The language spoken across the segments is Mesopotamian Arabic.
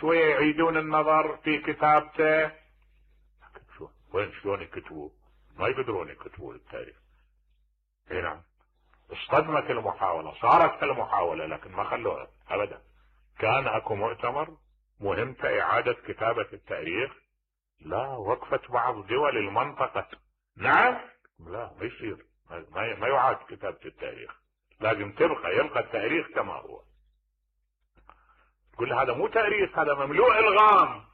شوية يعيدون النظر في كتابته. وين شلون يكتبوا؟ ما يقدرون يكتبوا التاريخ. اي نعم، اصطدمت المحاولة، صارت المحاولة لكن ما خلوها ابدا. كان اكو مؤتمر مهمته اعادة كتابة التاريخ، لا، وقفت بعض دول المنطقة. نعم، لا ما يصير، ما يعاد كتابة التاريخ، لازم يبقى التاريخ كما هو. تقول هذا مو تاريخ، هذا مملوء الغام،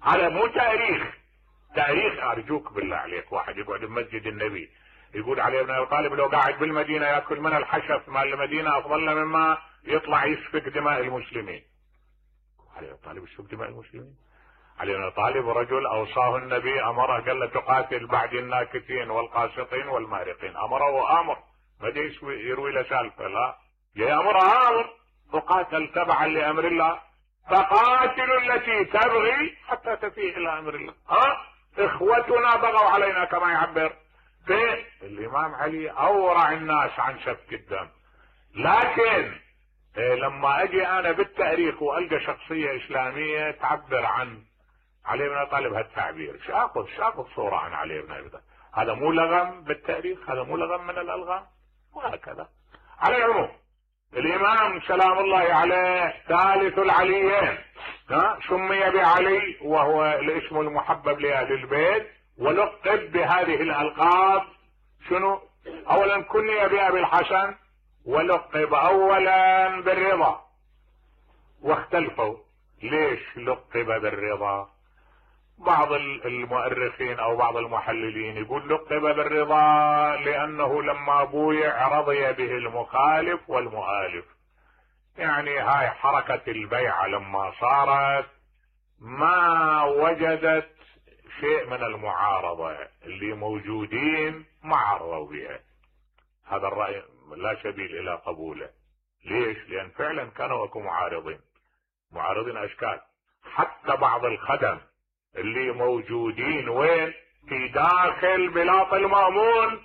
هذا مو تاريخ. تاريخ ارجوك بالله عليك، واحد يقعد بمسجد النبي يقول علي بن ابي طالب لو قاعد بالمدينة ياكل من الحشف مال المدينة افضل مما يطلع يسفك دماء المسلمين. علي بن ابي طالب يسفك دماء المسلمين؟ علي بن ابي طالب رجل اوصاه النبي، امره قال له تقاتل بعد الناكثين والقاسطين والمارقين، امره وامر، ما يروي له سالفه، لا، يامر امر، تقاتل تبعا لامر الله، فقاتلوا التي تبغي حتى تفيء الى امر الله. اخوتنا بغوا علينا كما يعبر الامام علي، اورع الناس عن سفك الدم. لكن لما اجي انا بالتاريخ والقى شخصيه اسلاميه تعبر عن علي بن ابي طالب هالتعبير، شاخذ صوره عن علي بن ابي طالب، هذا مو لغم بالتاريخ، هذا مو لغم من الالغام، وهكذا. على العموم الامام سلام الله عليه ثالث العليين، سمي بعلي وهو الاسم المحبب لاهل البيت، ولقب بهذه الالقاب. شنو؟ اولا كني بابي الحسن، ولقب اولا بالرضا، واختلفوا ليش لقب بالرضا. بعض المؤرخين او بعض المحللين يقول لقب بالرضا لانه لما بويع رضي به المخالف والمؤالف، يعني هاي حركة البيعة لما صارت ما وجدت شيء من المعارضة، اللي موجودين ما عرضوا بها. هذا الرأي لا سبيل الى قبوله. ليش؟ لان فعلا كانوا اكو معارضين اشكال، حتى بعض الخدم اللي موجودين وين؟ في داخل بلاط المأمون،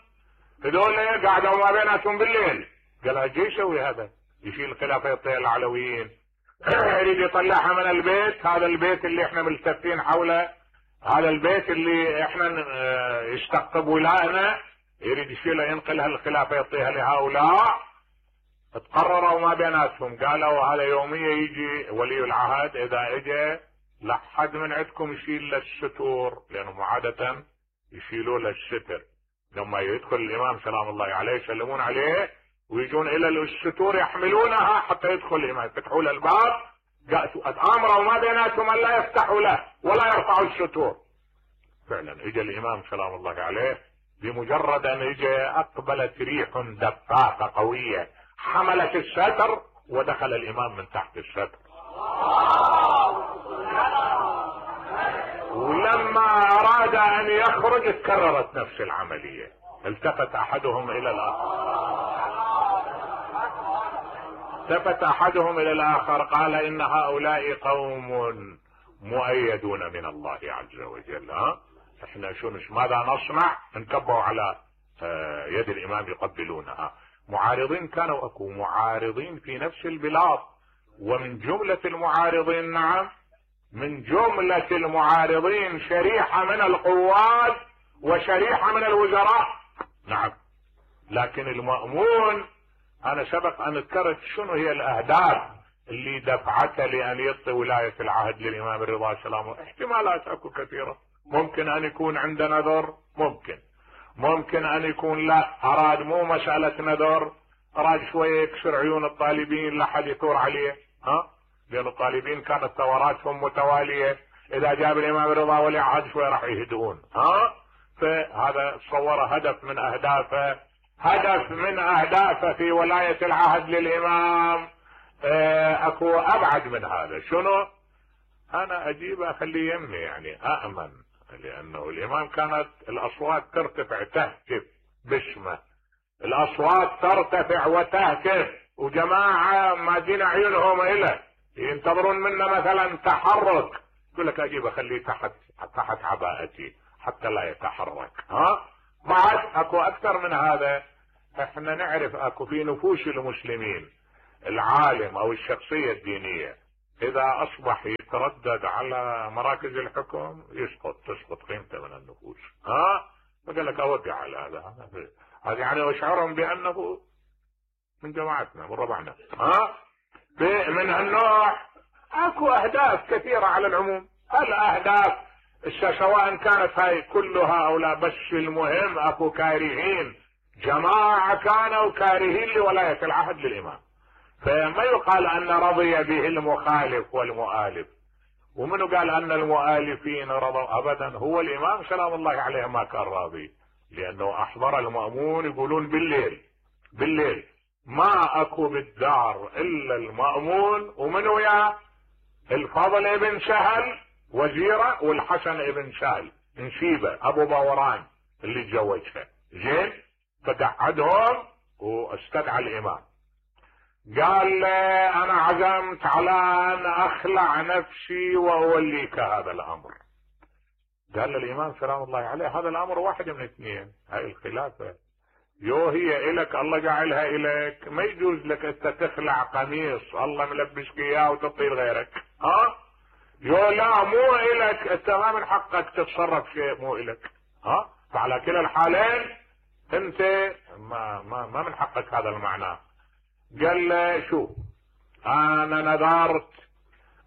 هذول قاعدوا ما بيناتهم بالليل، قال اجي يسوي هذا، يشيل خلافة العلويين، يريد يطلعها من البيت، هذا البيت اللي احنا ملتفين حوله، هذا البيت اللي احنا يستقطب ولائنا، يريد يشيلها ينقلها الخلافة يعطيها لهؤلاء. تقرروا ما بيناتهم، قالوا هذا يومية يجي ولي العهد، اذا اجى لا حد من عندكم يشيل للستور، لانهم عادة يشيلوا للستر، لما يدخل الامام سلام الله عليه يسلمون عليه ويجون الى الستور يحملونها حتى يدخل الامام، يفتحوا له الباب، امروا ما بيناتهم ان لا يفتحوا له ولا يرفعوا الستور. فعلا اجى الامام سلام الله عليه، بمجرد ان اجى اقبلت ريح دفاقة قوية حملت الستر ودخل الامام من تحت الستر. ولما اراد ان يخرج تكررت نفس العملية، التفت احدهم الى الاخر قال ان هؤلاء قوم مؤيدون من الله عز وجل، احنا ماذا نصنع؟ انكبوا على يد الامام يقبلونها. معارضين كانوا اكو معارضين في نفس البلاد، ومن جملة المعارضين، نعم، من جملة المعارضين شريحة من القوات وشريحة من الوزراء، نعم. لكن المأمون انا سبق ان ذكرت شنو هي الاهداف اللي دفعته لان يعطي ولاية العهد للامام الرضا سلام. احتمالات اكو كثيرة، ممكن ان يكون عنده نذر، ممكن ان يكون لا، اراد مو مسألة نذر، اراد شوية يكسر عيون الطالبين لحد يثور عليه، لان الطالبين كانت ثوراتهم متوالية، اذا جاب الامام الرضا ولي عهد شوية راح يهدئون، فهذا صور هدف من اهدافه في ولاية العهد للامام. اكو ابعد من هذا، شنو؟ انا اجيب اخليه يمي، يعني اامن، لانه الامام كانت الاصوات ترتفع تهتف باسمه، الاصوات ترتفع وتهتف، وجماعة مادين عيونهم إله ينتظرون منا مثلا تحرك، يقول لك اجيب اخليه تحت عباءتي حتى لا يتحرك. بعد اكو اكثر من هذا، احنا نعرف اكو في نفوس المسلمين العالم او الشخصية الدينية اذا اصبح يتردد على مراكز الحكم تسقط قيمته من النفوس. فقال لك اوقع على هذا يعني واشعرهم بانه من جماعتنا من ربعنا. من هالنوع اكو اهداف كثيرة على العموم. الاهداف سواء كانت هاي كلها او لا، بس المهم اكو كارهين، جماعة كانوا كارهين لولاية العهد للامام، فما يقال ان رضي به المخالف والمؤالف. ومنو قال ان المؤالفين رضوا؟ ابدا، هو الامام سلام الله عليه ما كان راضي، لانه احضر المأمون يقولون بالليل ما اكو بالدار الا المأمون ومنو يا الفضل بن سهل وزيره والحسن بن سهل نشيبه ابو باوران اللي تزوجها. زين، فقعدهم واستدعى الامام، قال انا عزمت على ان اخلع نفسي واوليك هذا الامر. قال الامام سلام الله عليه هذا الامر واحد من اثنين، هاي الخلافه هي الك، الله جعلها الك، ما يجوز لك انت تخلع قميص الله ملبسك اياه وتطير غيرك. لا مو الك، انت ما من حقك تتصرف شيء مو الك. فعلى كلا الحالين انت ما من حقك هذا المعنى. قال له شوف، انا نذرت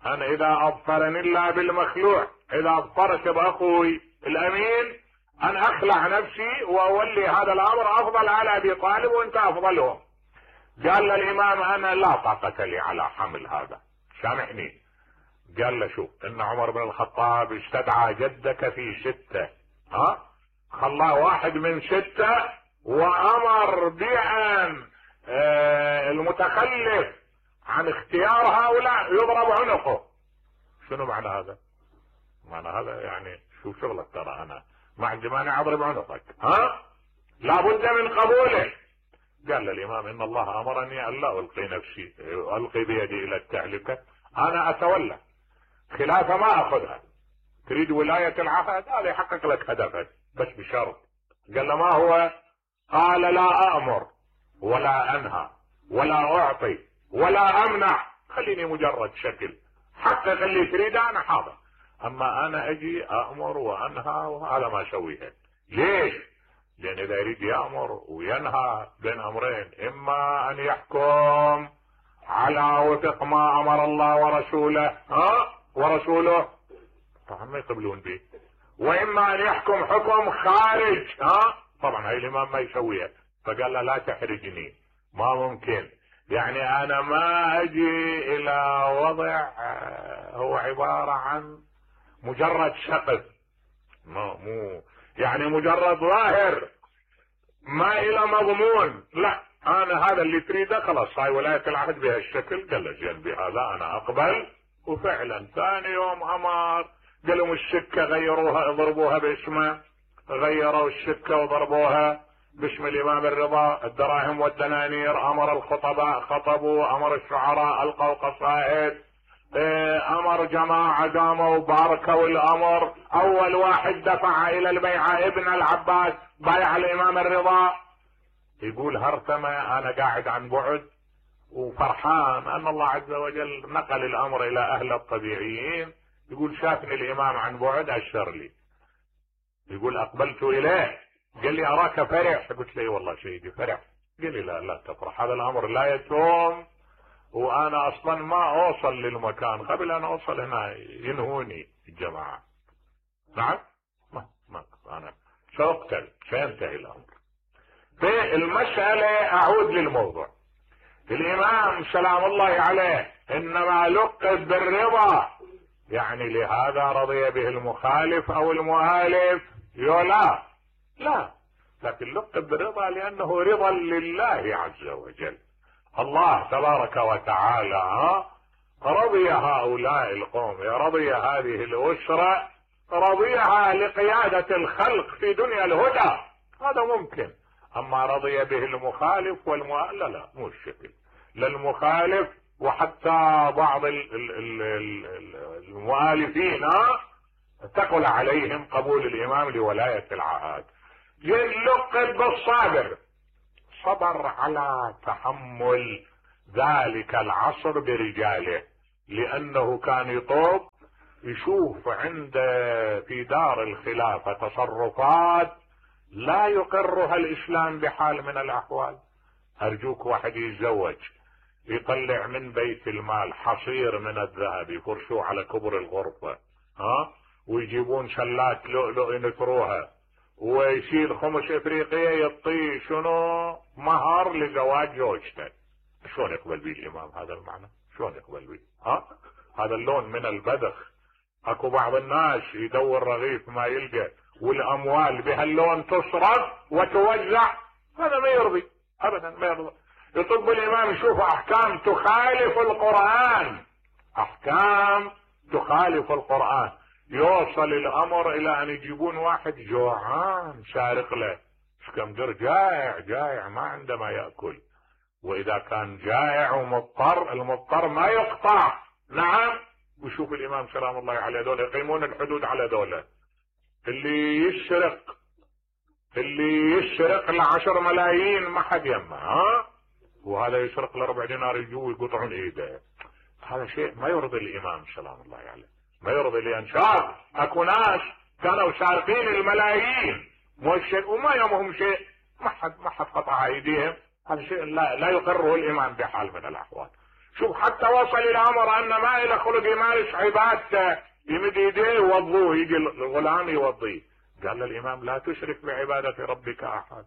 انا اذا ابصرني الله بالمخلوع، اذا ابصرت باخوي الامين ان اخلع نفسي واولي هذا الامر افضل على ابي طالب وانت افضلهم. قال للامام انا لا طاقة لي على حمل هذا، سامحني. قال له شوف، ان عمر بن الخطاب استدعى جدك في 6، خلاه واحد من 6 وامر بان المتخلف عن اختيار هؤلاء يضرب عنقه. شنو معنى هذا؟ معنى هذا يعني شو شغلك، ترى انا ما عندي مانع اضرب عنقك، لابد من قبوله. قال للامام ان الله امرني ان لا القي بيدي الى التهلكه، انا اتولى خلافه ما اخذها. تريد ولاية العهد هذا يحقق لك هدفك، بس بشرط. قال له ما هو؟ قال لا امر ولا انهى ولا اعطي ولا امنع، خليني مجرد شكل، حقق اللي تريده انا حاضر، اما انا اجي امر وانهى وهذا ما اسويها. ليش؟ لان اذا يريد يامر وينهى بين امرين، اما ان يحكم على وفق ما امر الله ورسوله طبعا ما يقبلون به، واما ان يحكم حكم خارج، طبعا هاي الامام ما يسويها. فقال له لا تحرجني، ما ممكن، يعني انا ما اجي الى وضع هو عبارة عن مجرد سقف، مو يعني مجرد ظاهر ما الى مضمون، لا انا هذا اللي تريده خلاص، هاي ولاية العهد بهالشكل. قال له زين بهذا انا اقبل. وفعلا ثاني يوم امر، قالوا السكة غيروها اضربوها باسمه، غيروا السكة وضربوها باسم الامام الرضا، الدراهم والدنانير، امر الخطباء خطبوا، امر الشعراء القوا قصائد، امر جماعة قاموا باركوا الامر. اول واحد دفع الى البيعة ابن العباس، بايع الامام الرضا. يقول هرتمة انا قاعد عن بعد وفرحان ان الله عز وجل نقل الامر الى اهل الطبيعيين. يقول شافني الامام عن بعد اشر لي، يقول اقبلت اليه، قال لي اراك فرح، قلت له والله سيدي فرح. قال لي لا تفرح، هذا الامر لا يتوم، وانا اصلا ما اوصل للمكان، قبل ان اوصل هنا ينهوني الجماعة. نعم ما انا ساقتل، سينتهي الامر. في المسألة اعود للموضوع، الامام سلام الله عليه انما لقب بالرضا، يعني لهذا رضي به المخالف او المؤالف؟ لا، لكن لقب بالرضا لانه رضا لله عز وجل. الله تبارك وتعالى رضي هؤلاء القوم، رضي هذه الاسرة، رضيها لقيادة الخلق في دنيا الهدى، هذا ممكن. اما رضي به المخالف والمؤالف لا، مو الشكل. للمخالف وحتى بعض المؤالفين ثقل عليهم قبول الامام لولاية العهد. يلقب بالصابر، صبر على تحمل ذلك العصر برجاله، لانه كان يطوب يشوف عند في دار الخلافة تصرفات لا يقرها الاسلام بحال من الاحوال. ارجوك واحد يتزوج يطلع من بيت المال حصير من الذهب يفرشوه على كبر الغرفة، ويجيبون شلات لؤلؤ ينثروها، ويشيل خمس افريقية يعطيه شنو مهر لزواج زوجته. شلون يقبل به الامام هذا المعنى؟ شلون يقبل به؟ هذا اللون من البذخ. اكو بعض الناس يدور رغيف ما يلقى، والاموال بهاللون تصرف وتوزع، هذا ما يرضي ابدا، ما يرضي. يطب الامام يشوف احكام تخالف القرآن، احكام تخالف القرآن، يوصل الامر الى ان يجيبون واحد جوعان سارق له اسكندر، جائع ما عنده ما يأكل، واذا كان جائع ومضطر، المضطر ما يقطع. نعم. وشوف الامام سلام الله عليه دول يقيمون الحدود على دولة. اللي يسرق ل10 ملايين ما حد يمه، وهذا يسرق ل4 دينار يجوا يقطعون ايده. هذا شيء ما يرضي الامام سلام الله عليه، ما يرضي. لان شاف اكو ناس كانوا سارقين الملايين وما يهمهم شيء، ما حد قطع ايديهم. هذا شيء لا يقره الامام بحال من الاحوال. شوف حتى وصل الى امر ان ما الى خلق يمارس عبادته، يمد ايديه يوضوه، يجي الغلام يوضيه. قال الامام لا تشرك بعبادة ربك احد.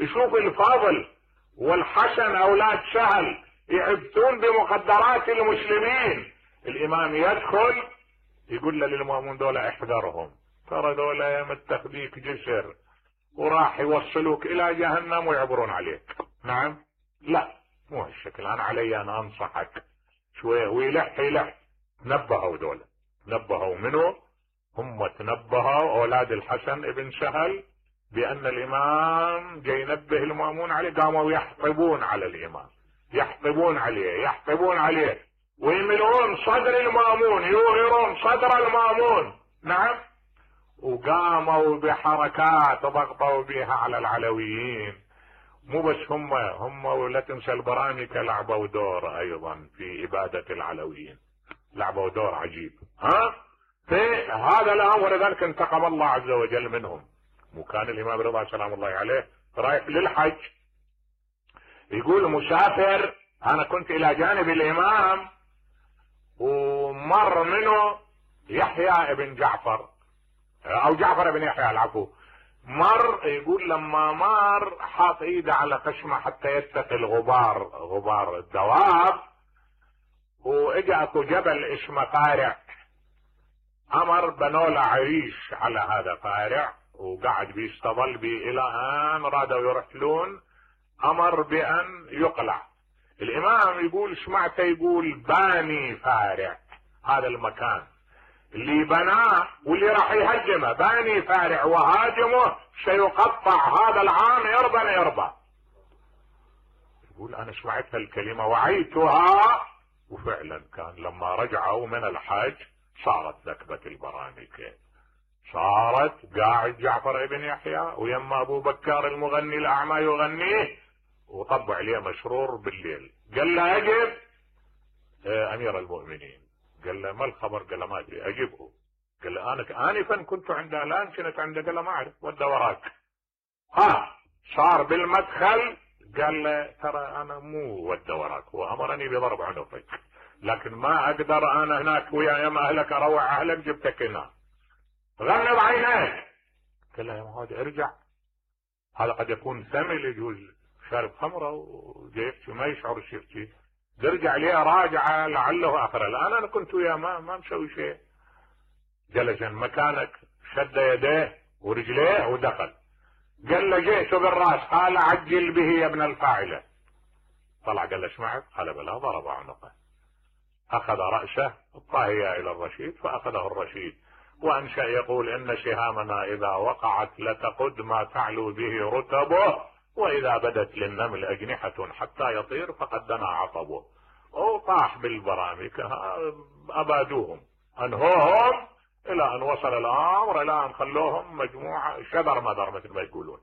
يشوف الفاضل والحسن اولاد سهل يعبثون بمقدرات المسلمين، الامام يدخل يقول للمؤمنين دول احذرهم، ترى دول متخذيك جسر وراح يوصلوك الى جهنم ويعبرون عليك. نعم. لا مو هالشكل، انا علي ان انصحك شويه. ويلح نبهوا دول، نبهوا منه، هم تنبهوا اولاد الحسن ابن سهل بان الامام جاي ينبه المأمون عليه، قاموا يحطبون على الامام، يحطبون عليه ويملؤون صدر المأمون، يوهرون صدر المأمون. نعم. وقاموا بحركات ضغطوا بها على العلويين. مو بس هم ولا تنسى البرامكة لعبوا دور ايضا في ابادة العلويين، لعبوا دور عجيب. في هذا الامر ذلك انتقم الله عز وجل منهم. وكان الامام رضا سلام الله عليه رايح للحج، يقول مسافر، انا كنت الى جانب الامام ومر منه يحيى ابن جعفر او جعفر ابن يحيى العفو، مر. يقول لما مر حاط ايده على خشمه حتى يتقي غبار الدواب، واجا اكو جبل اسمه قارع، امر بنوله عريش على هذا قارع، وقعد بيستظل بي الى ان رادوا يرحلون، امر بان يقلع. الامام يقول سمعته يقول باني فارع، هذا المكان اللي بناه واللي راح يهدمه، باني فارع وهاجمه سيقطع هذا العام يرضى. يقول انا سمعت الكلمة وعيتها، وفعلا كان لما رجعوا من الحج صارت نكبة البرامكة، صارت قاعد جعفر ابن يحيى ويما ابو بكار المغني الاعمى يغنيه، وطبع عليه مشرور بالليل. قال له اجب امير المؤمنين. قال له ما الخبر؟ قال له ما ادري. اجبه. قال له انا انفا كنت عنده، الان كنت عنده. قال له ما اعرف، ودى وراك. صار بالمدخل قال له ترى انا مو ودى وراك، هو امرني بضرب عنقك، لكن ما اقدر انا هناك ويا يم اهلك اروع اهلك، جبتك هنا. غمض عينيك. قال له يا معود ارجع، هذا قد يكون ثمل، يجوز شارب خمره وجايبتي ما يشعر شيء. ترجع ليه راجعه لعله اخر. الان انا كنت وياه ما مسوي شيء. جلس مكانك، شد يديه ورجليه ودخل. قال له جئت بالراس، قال عجل به يا ابن الفاعله. طلع قال له ايش معك؟ قال بلا، ضرب عنقه، اخذ راسه الطاهيه الى الرشيد فاخذه الرشيد، وانشا يقول ان سهامنا اذا وقعت لتقد ما تعلو به رتبه، واذا بدت للنمل اجنحه حتى يطير فقد دنا عصبه. وطاح بالبرامكه، ابادوهم، انهوهم الى ان وصل الامر الى ان خلوهم مجموعه شذر مذر مثل ما يقولون.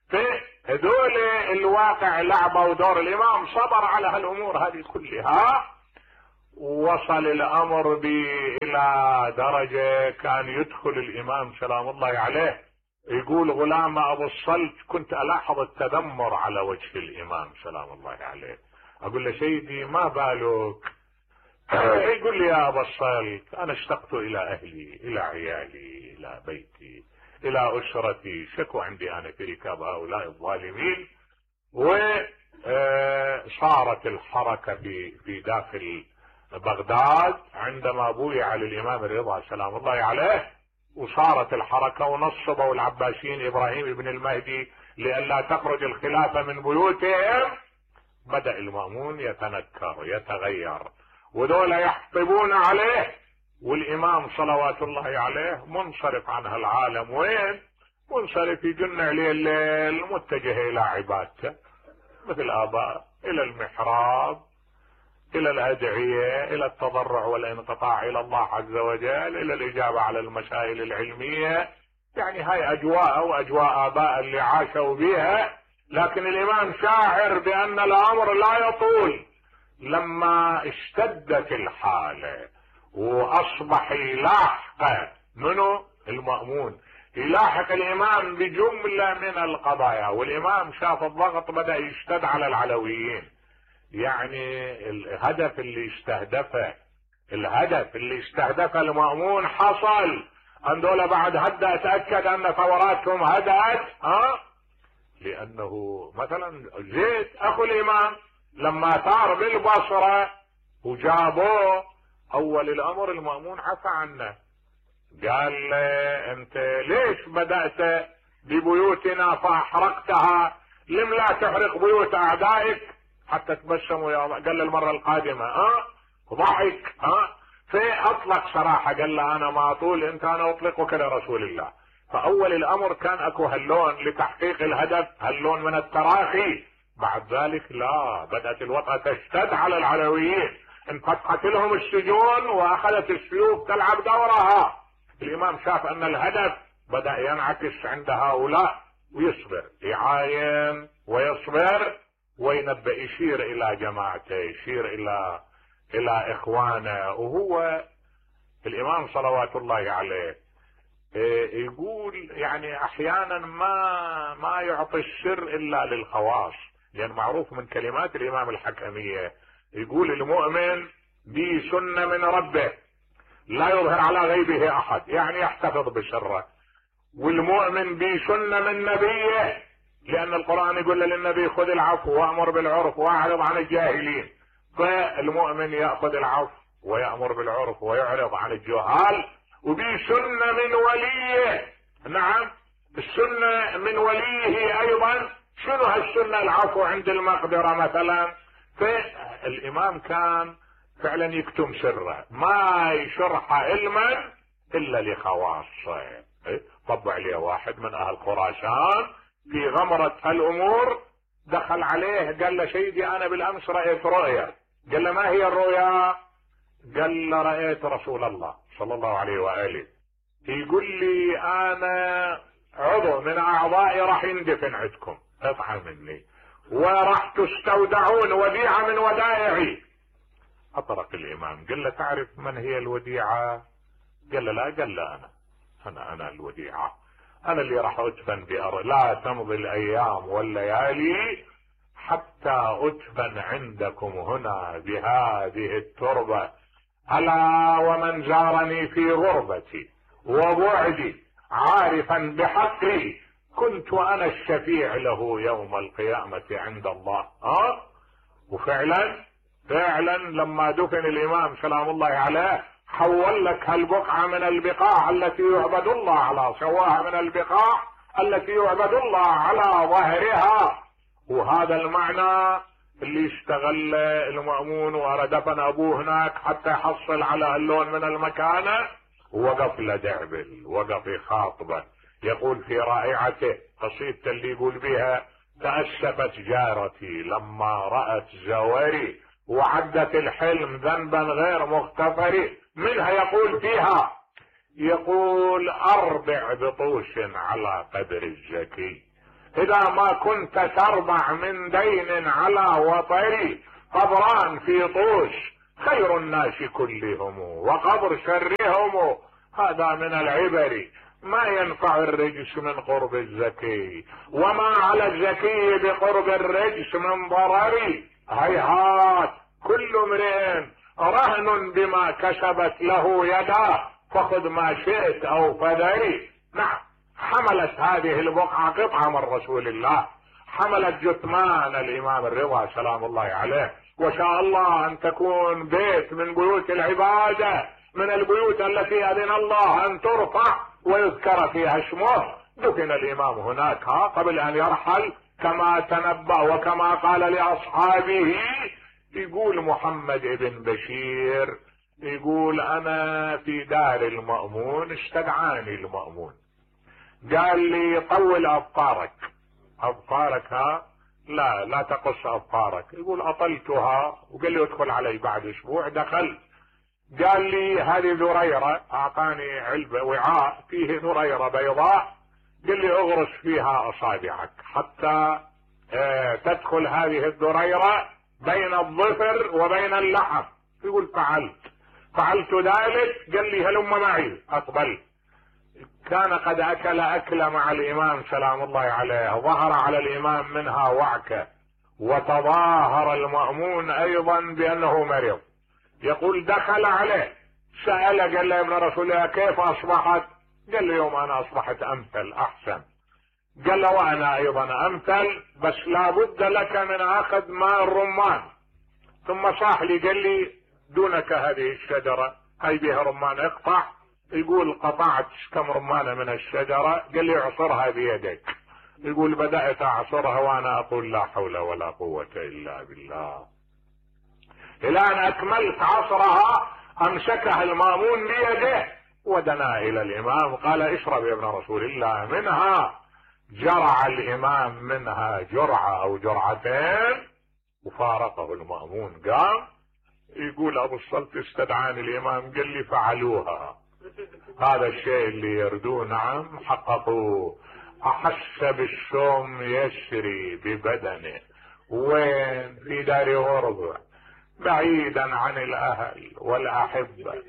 في هذول الواقع لعبوا دور. الامام صبر على هالامور هذه كلها، وصل الامر الى درجة كان يدخل الامام سلام الله عليه، يقول غلام ابو الصلت كنت الاحظ التذمر على وجه الامام سلام الله عليه، اقول له سيدي ما بالك؟ يقول لي يا ابا الصلت انا اشتقت الى اهلي، الى عيالي، الى بيتي، الى اسرتي، شكو عندي انا في ركاب هؤلاء الظالمين. وصارت الحركة في داخل بغداد عندما بويع للامام الرضا سلام الله عليه، وصارت الحركة ونصبوا العباسيين ابراهيم بن المهدي لئلا تخرج الخلافة من بيوتهم. بدأ المأمون يتنكر يتغير، وذولا يحطبون عليه، والامام صلوات الله عليه منصرف عن هالعالم. وين منصرف؟ يجن عليه الليل متجه الى عبادته مثل اباء، الى المحراب، الى الادعية، الى التضرع والانقطاع الى الله عز وجل، الى الاجابة على المسائل العلمية. يعني هاي اجواء واجواء اباء اللي عاشوا بها. لكن الامام شاعر بان الامر لا يطول. لما اشتدت الحالة واصبح يلاحق منه المأمون، يلاحق الامام بجملة من القضايا، والامام شاف الضغط بدأ يشتد على العلويين. يعني الهدف اللي استهدفه المأمون حصل. ان دول بعد هدأ اتأكد ان ثوراتهم هدأت. لانه مثلا زيد اخو الامام لما ثار بالبصرة وجابوه، اول الامر المأمون عفى عنه، قال له انت ليش بدأت ببيوتنا فاحرقتها؟ لم لا تحرق بيوت اعدائك حتى تبسموا يا الله؟ قال له المرة القادمة. ضحك. فاطلق صراحة، قال له انا ما اطول، انت انا اطلقك لرسول الله. فاول الامر كان اكو هاللون لتحقيق الهدف، هاللون من التراخي. بعد ذلك لا، بدأت الوطأة تشتد على العلويين، انفتحت لهم السجون واخذت السيوف تلعب دورها. الامام شاف ان الهدف بدأ ينعكس عند هؤلاء، ويصبر، يعاين ويصبر وينبأ، يشير الى جماعته، يشير الى اخوانه. وهو الامام صلوات الله عليه يقول يعني احيانا ما يعطي السر الا للخواص، لان معروف من كلمات الامام الحكمية، يقول المؤمن به سنة من ربه لا يظهر على غيبه احد، يعني يحتفظ بسره. والمؤمن به سنة من نبيه، لان القرآن يقول للنبي خذ العفو وامر بالعرف واعرض عن الجاهلين. فالمؤمن يأخذ العفو ويأمر بالعرف ويعرض عن الجهال. وبه سنة من وليه. نعم، السنة من وليه ايضا. شنو هالسنة؟ العفو عند المقدرة مثلا. فالامام كان فعلا يكتم سره، ما يشرح علما الا لخواصه. طبع عليه واحد من اهل خراسان في غمرة هالامور، دخل عليه قال له سيدي انا بالامس رأيت رؤيا. قال له ما هي الرؤيا؟ قال له رأيت رسول الله صلى الله عليه وآله يقول لي انا عضو من اعضائي راح يندفن عندكم، قطعة مني، وراح تستودعون وديعة من ودائعي. اطرق الامام قال له تعرف من هي الوديعة؟ قال له لا. قال له انا الوديعة، انا اللي راح ادفن بأرض. لا تمضي الايام والليالي حتى ادفن عندكم هنا بهذه التربة. الا ومن زارني في غربتي وبعدي عارفا بحقي كنت انا الشفيع له يوم القيامة عند الله. وفعلا لما دفن الامام سلام الله عليه حول لك هالبقعة من البقاع التي يعبد الله على سواها، من البقاع التي يعبد الله على ظهرها. وهذا المعنى اللي اشتغل المأمون وردفن ابوه هناك حتى يحصل على اللون من المكانة. وقف لدعبل، وقف يخاطبه، يقول في رائعته قصيدته اللي يقول بها تأسفت جارتي لما رأت زوري وعدت الحلم ذنبا غير مغتفر. منها يقول فيها، يقول اربع بطوش على قدر الزكي اذا ما كنت تربع من دين على وطري، قبران في طوش خير الناس كلهم وقبر شرهم. هذا من العبر. ما ينفع الرجس من قرب الزكي، وما على الزكي بقرب الرجس من ضرر. هيهات كل امرئ رهن بما كسبت له يداه، فخذ ما شئت او فذري. نعم، حملت هذه البقعة قطعة من رسول الله، حملت جثمان الامام الرضا سلام الله عليه، وشاء الله ان تكون بيت من بيوت العبادة، من البيوت التي اذن الله ان ترفع ويذكر فيها اسمه. دفن الامام هناك قبل ان يرحل كما تنبأ وكما قال لاصحابه. يقول محمد بن بشير، يقول انا في دار المأمون استدعاني المأمون قال لي طول اظفارك. اظفارك لا تقص اظفارك. يقول اطلتها، وقال لي ادخل علي بعد اسبوع. دخل قال لي هذه ذريرة، اعطاني علبة وعاء فيه ذريرة بيضاء، قال لي اغرس فيها اصابعك حتى تدخل هذه الذريرة بين الظفر وبين اللحم. يقول فعلت ذلك. قال لي هلم معي. اقبل. كان قد اكل اكل مع الامام سلام الله عليه، ظهر على الامام منها وعكة، وتظاهر المأمون ايضا بانه مريض. يقول دخل عليه سأل، قال له يا ابن رسول الله كيف اصبحت؟ قال له يوم انا اصبحت امثل احسن. قال له وانا ايضا امثل، بس لابد لك من اخذ ماء الرمان. ثم صاح لي قال لي دونك هذه الشجرة هاي بها رمان، اقطع. يقول قطعت كم رمانة من الشجرة. قال لي اعصرها بيدك. يقول بدأت اعصرها وانا اقول لا حول ولا قوة الا بالله. الى ان اكملت عصرها امسكها المأمون بيده ودنا الى الامام قال اشرب يا ابن رسول الله منها. جرع الامام منها جرعة او جرعتين وفارقه المأمون. قام يقول ابو الصلت استدعاني الامام قال لي فعلوها. هذا الشيء اللي يردوه. نعم حققوه. احس بالشوم يسري ببدنه. وين؟ في دار غربة، بعيدا عن الاهل والاحبة،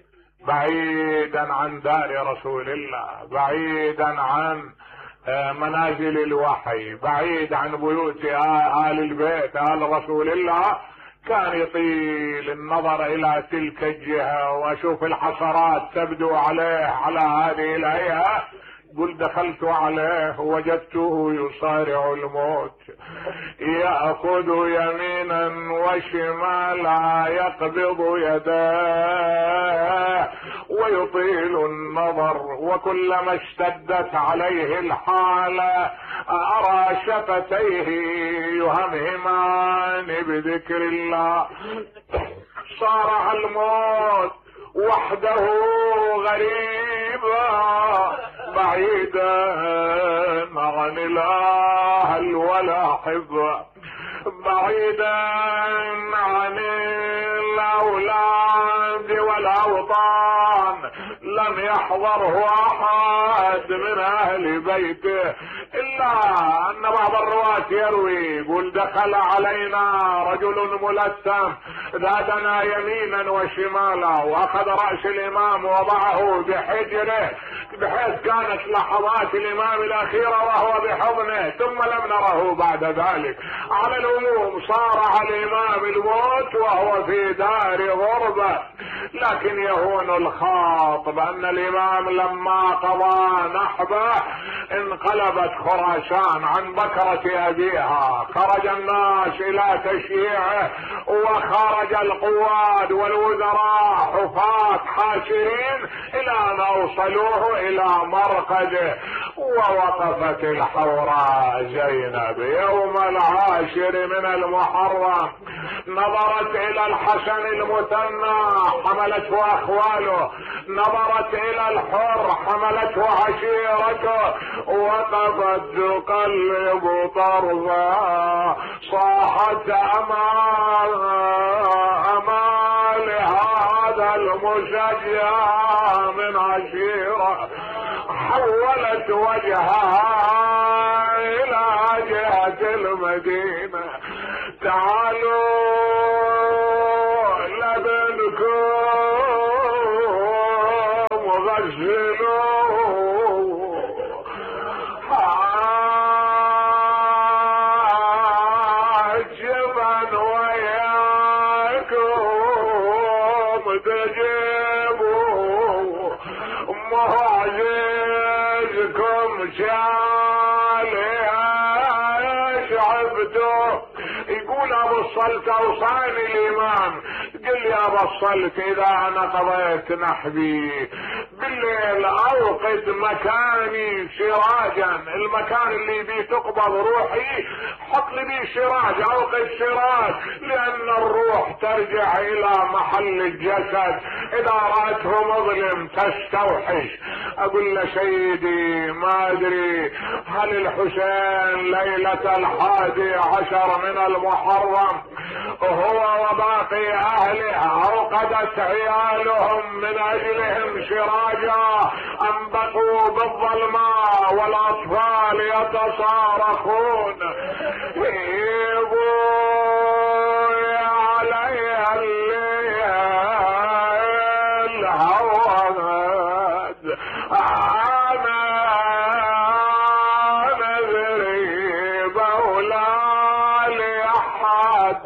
بعيدا عن دار رسول الله، بعيدا عن منازل الوحي، بعيد عن بيوت آل البيت آل رسول الله. كان يطيل النظر الى تلك الجهة واشوف الحسرات تبدو عليه على هذه الهيئة. قل دخلت عليه وجدته يصارع الموت، يأخذ يمينا وشمالا، يقبض يداه ويطيل النظر. وكلما اشتدت عليه الحالة أرى شفتيه يهمهمان بذكر الله. صارع الموت وحده غريبا بعيدا عن الاهل والاحبة، بعيدا عن الاولاد والاوطان. لم يحضره احد من اهل بيته، الا ان بعض الرواة يروي يقول دخل علينا رجل ملثم ذاتنا يمينا وشمالا، واخذ رأس الامام وضعه بحجره بحيث كانت لحظات الامام الاخيرة وهو بحضنه، ثم لم نره بعد ذلك. على العموم صارع الامام الموت وهو في دار غربة. لكن يهون الخاطب ان الامام لما قضى نحبه انقلبت خراسان عن بكرة ابيها، خرج الناس الى تشييعه، وخرج القواد والوزراء حفاة حاشرين الى ان اوصلوه الى مرقده. ووقفت الحوراء زينب يوم العاشر من المحرم، نظرت الى الحسن المثنى حملته اخواله، نظرت الى الحر حملته عشيرته، وقفت تقلب طرفا. صاحت امال هذا المشجع من عشيرة، حولت وجهها الى جهة المدينة. تعالوا لابن غسلوه جبن وياكم تجيبوا معجزكم شالها شعبتوا. يقول ابو الصلت اوصاني الامام، قل لي ابو الصلت اذا انا قضيت نحبي بالليل اوقد مكاني سراجا، المكان اللي بيه تقبض روحي حط لي بيه سراج، اوقد سراج، لان الروح ترجع الى محل الجسد، اذا راته مظلم تستوحش. اقول له سيدي ما ادري هل الحسين ليلة 11 من المحرم هو وباقي اهله اوقدت عيالهم من اجلهم سراجا ام بقوا بالظلماء والاطفال يتصارخون يبوي علي الليل هواد انا نذري بولا لاحد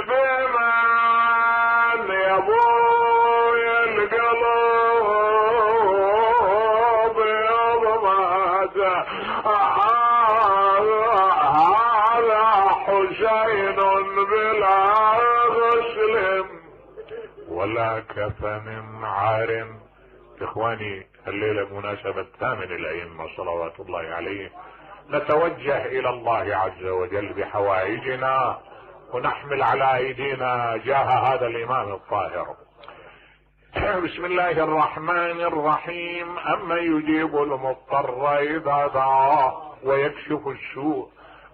بمن يبوي القلب يضمد هذا حسين بلا غسل ولا كفن عار. اخواني الليلة بمناسبة ثامن الائمة صلوات الله عليه نتوجه الى الله عز وجل بحوائجنا ونحمل على ايدينا جاه هذا الامام الطاهر. بسم الله الرحمن الرحيم. اما يجيب المضطر اذا دعاه ويكشف السوء،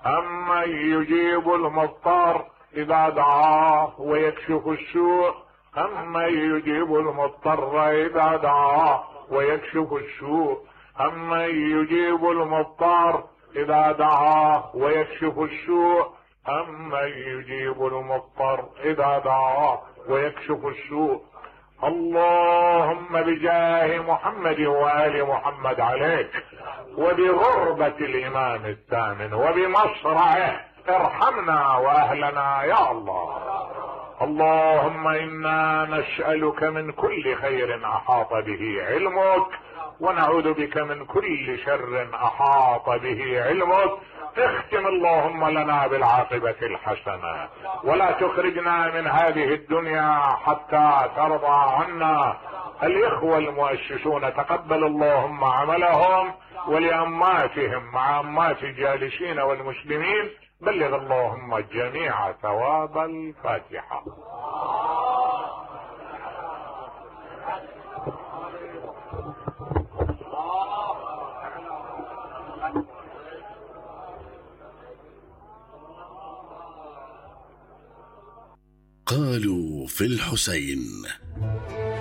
اما يجيب المضطر اذا دعاه ويكشف السوء، اما يجيب المضطر اذا دعاه ويكشف السوء، اما يجيب المضطر اذا دعاه ويكشف السوء، اما يجيب المضطر اذا دعاه ويكشف السوء. اللهم بجاه محمد وآل محمد عليك وبغربة الامام الثامن وبمصرعه ارحمنا واهلنا يا الله. اللهم انا نسألك من كل خير احاط به علمك ونعوذ بك من كل شر احاط به علمك. اختم اللهم لنا بالعاقبة الحسنة ولا تخرجنا من هذه الدنيا حتى ترضى عنا. الاخوة المؤسسون تقبل اللهم عملهم، ولأماتهم مع أمات الجالسين والمسلمين بلغ اللهم جميع ثواب الفاتحة. قالوا في الحسين